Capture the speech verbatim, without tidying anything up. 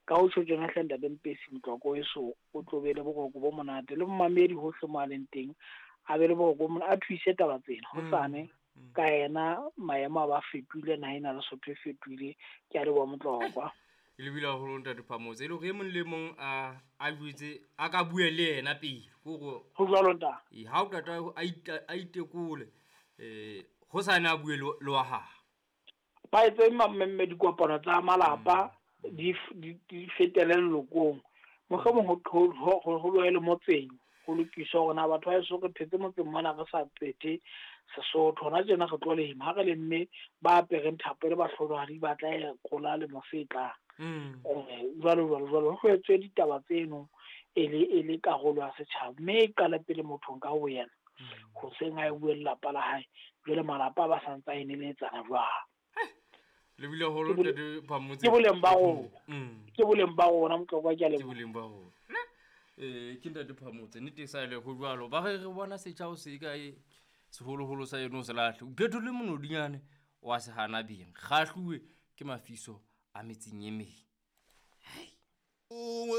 Ka ho tjho tjena hle ntate Mpesi, motlwako weso o tlo be le boroko bo monate, le momamedi hohle mo a leng teng a be le boroko bo monate, a thuise taba tsena hosane ka yena maemo a ba fetohile, naha ena Lesotho e fetohile. Ke a leboha motlokwa. E lebile haholo ntate Phamotse, e le hore e mong le mong a a jwetse a ka bue le yena pele kore Ho jwalo ntate. E ha o qeta a ita, a itekole eh hosane a bue le le wa hae. Ba etse mmemme dikopano tsa malapa di f- di di fetele lelokong, mohlomong ho ho ho ho lohe le motseng, ho lokiswe hore na batho ba heso re phetse motseng mona re sa phethe Sesotho. Hona tjena re tlo lema, ha re lemme ba apereng thapo le bahlolohadi ba tla ya kola lemo se tlang. Mm. Eh, jwalo jwalo jwalo, ho etswe ditaba tseno e le e le karolo ya setjhaba, mme e qale pele mothong ka ho yena, hoseng a e bue lelapa la hae, jwale malapa a ba santse a eneletsana jwalo. Lebile haholo Ke bole- ntate Phamotse. Ke boleng ba rona. Mm. Ke boleng ba rona motlokwa, ke a Ke leboha. boleng ba rona. Eh ke ntate Phamotse, nnete e sa le ho jwalo. Ba re re bona setjha o se kae seholoholo sa eno se lahle. O phetole monodinyane wa se hana beng. Kgahluwe ke mafiso a metseng e meng.